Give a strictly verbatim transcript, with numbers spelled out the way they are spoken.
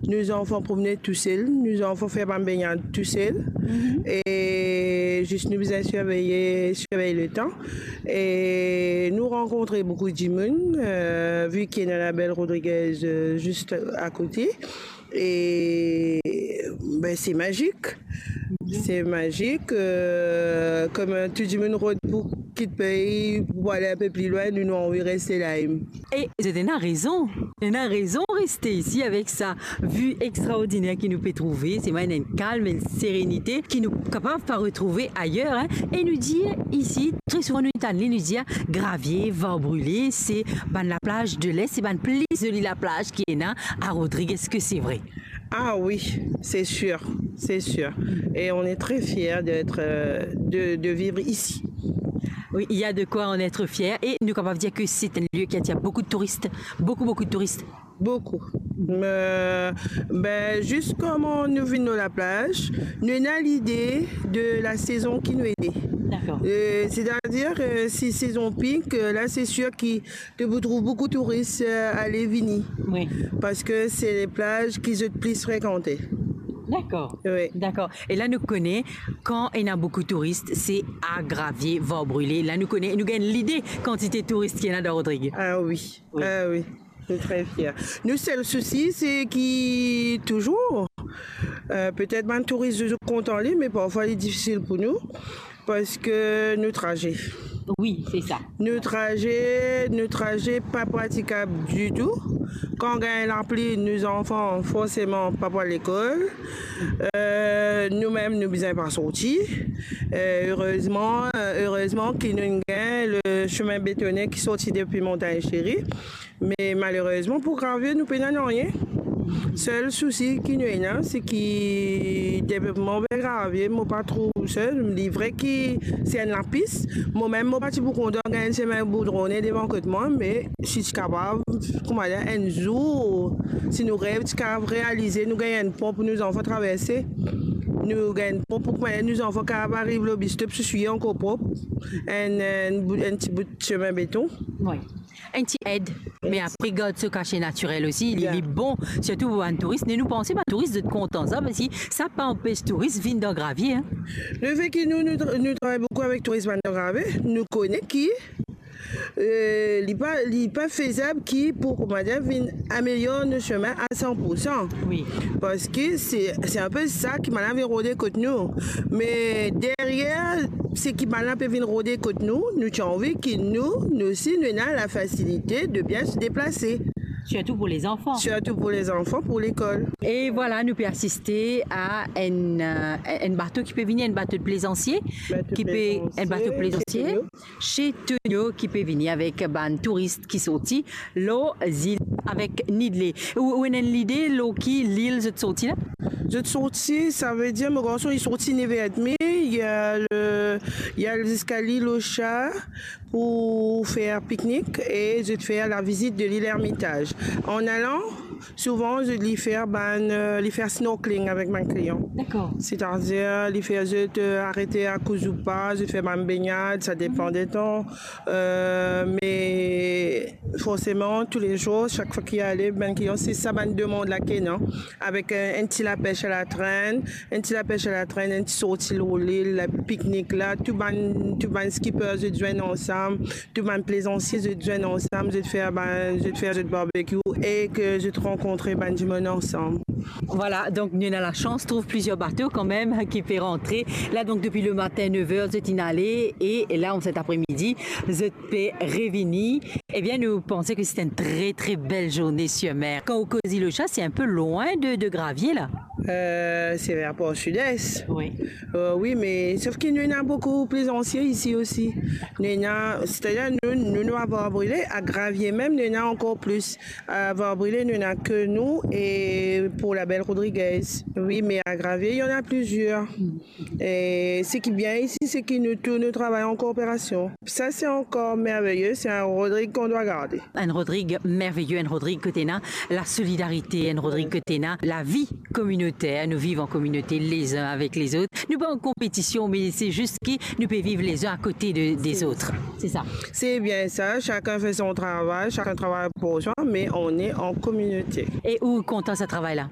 nou zanfan promne tousel, nou zanfan fer bann bengnad tousel. E zis nou bizin sirvey, sirvey letan. E nou rankontre boukou dimoun, eh, vi ki ena Label Rodriguez, eh, zis akote. E, be, se mazik. Se mazik, eh, kouma tou dimoun rod pou kit pei, pou ale inpe pli lwin, nou, nou anvi reste la. E zot ena rezon. Ena rezon reste isi avek sa vi extraordiner ki nou pe trouve. Selman ena enn kalm, enn serenite ki nou kapav pa retrouve ayer, hein. E nou dir isi, tre souvan nou tann li, nou dir Gravie, Var Brile, se bann laplaz de Les, se bann pli zoli laplaz ki ena a Rodrig. Eski se vre? Ah oui, c'est sûr, c'est sûr. Et on est très fiers d'être, euh, de, de vivre ici. Oui, il y a de quoi en être fier. E nou kapav dir ke se enn lie ki atir boukou touris, boukou, boukou touris. Boukou. Me, be, zis kouma nou vinn lor laplaz, nou ena lide de la sezon ki nou ena. Dakor. Eh, setadir, eh, si sezon pink, eh, la, se sir ki to pou trouv boukou touris, eh, ale vini. Wi. Parski se laplaz ki zot plis frekante. Dakor. Wi. Dakor. E la nou kone, kan ena boukou touris, se a Gravie, Var Brile. La nou kone, nou gagn lide kantite touris ki ena dan Rodrig. Ah wi. Wi. Ah wi. Nou tre fier. Nou sel sousi, se ki touzour, eh, petet bann touris, zot kontan li, me parfwa li difisil pou nou. Parski nou traze. Wi, se sa. Nou traze, nou traze pa pratikab ditou. Kan gagn lapli, nou zanfan forseman pa pou al lekol. Eh, nou mem, nou bizin pa sorti. Eh, erezman, eh, erezman ki nou gagn le semin betone ki sorti depi Montagne Chérie. Me malerezman pou Gravie, nou pena nanye. Sel sousi ki nou ena, se ki devlopman ver Gravie, mo pa trouv sa. Li vre ki se enn lapis. Mo mem, mo pa ti pou kontan gagn semin goudrone devan kot mwa, me si ti kapav, kouma dir, enn zour, si nou rev ti kapav realize, nou gagn enn pon pou nou zanfan traverse. Nou gagn enn pon pou, kouma dir, nou zanfan kapav ariv lor bistop, swiy ankor prop. Enn, enn bout, enn ti bout semin beton. Wi. Enn ti ed, me apre gard so kase natirel osi, li, li bon, sirtou pou bann touris. Me nou panse bann touris zot kontan sa, parski sa pa anpes touris vinn dan Gravie, hein. Lefet ki nou, nou tra-, nou travay boukou avek touris bann dan Gravie, nou kone ki, eh, li pa, li pa fezab ki pou, kouma dir, vinn amelior nou semin a san pou san. Wi. Parski se, se inpe sa ki bann la vinn rode kot nou. Me deryer, seki bann la pe vinn rode kot nou, nou ti anvi ki nou, nou osi, nou ena lafasilite de bien se deplase. Sirtou pou lezanfan. Sirtou pou lezanfan, pou lekol. E vwala, nou pe asiste a enn, eh, enn bato ki pe vini, enn bato de plezansie, enn bato plezansie, ki pe, enn bato plezansie, se Tonio, ki pe vini avek bann touris ki sorti lor zil avek Nidlé. Ou, ou ena enn lide lor ki lil zot sorti la? Zot sorti, savedir mo garson, li sorti nef er edmi, li al, li al ziska lil Ocha pou fer piknik e zot fer lavizit de lil Ermitaz. An alan, souvan zot li fer bann, eh, li fer snorkeling avek bann klian. Dakor. Setadir, li fer zot, eh, arete a Kouzoupa, zot fer bann bengnad, sa depan de tan. Eh, me forseman, toulezour, sak fwa ki ale, bann klian, se sa bann demand la ki ena, avek, eh, enn ti lapes a latrenn, enn ti lapes a latrenn, enn ti sorti lor lil, la piknik la, tou bann, tou bann skipper zot zwenn ansam, tou bann plezansie zot zwenn ansam, zot fer bann, zot fer zot barbecue e ki zot rankontre bann dimoun ansam. Vwala, donk nou ena lasans trouv plizier bato kanmem ki pe rantre. La, donk, depi lematin, nef er, zot inn ale, e la, an set apremidi, zot pe revini. Ebien, nou panse ki se enn tre, tre bel zourne sir mer. Kan ou koz lil Ocha, se inpe lwin de, de Gravie, la. Eh, se ver par sides. Wi. Eh, wi, me sof ki nou ena boukou plezansie isi osi. Nou ena, setadir nou, nou, nou a Var Brile, a Gravie mem, nou ena ankor plis. A Var Brile, nou ena ke nou, e pou Label Rodriguez. Wi, me a Gravie, il y en a plusieurs. E seki bien isi, seki nou tou, nou travay an kooperasion. Sa, se ankor merveye, c'est un Rodrig qu'on doit garder. Enn Rodrig merveye, enn Rodrig kot ena la solidarite, enn Rodrig kot ena lavi kominoter, nou viv an kominote, les uns avec les autres. Nou pa an konpetision, me se zis ki nou pe viv les uns à côté de, des autres. Se sa. Se bien sa, chacun fait son travail, chacun travaille pour soi, mais on est en communauté. E ou kontan sa travay la?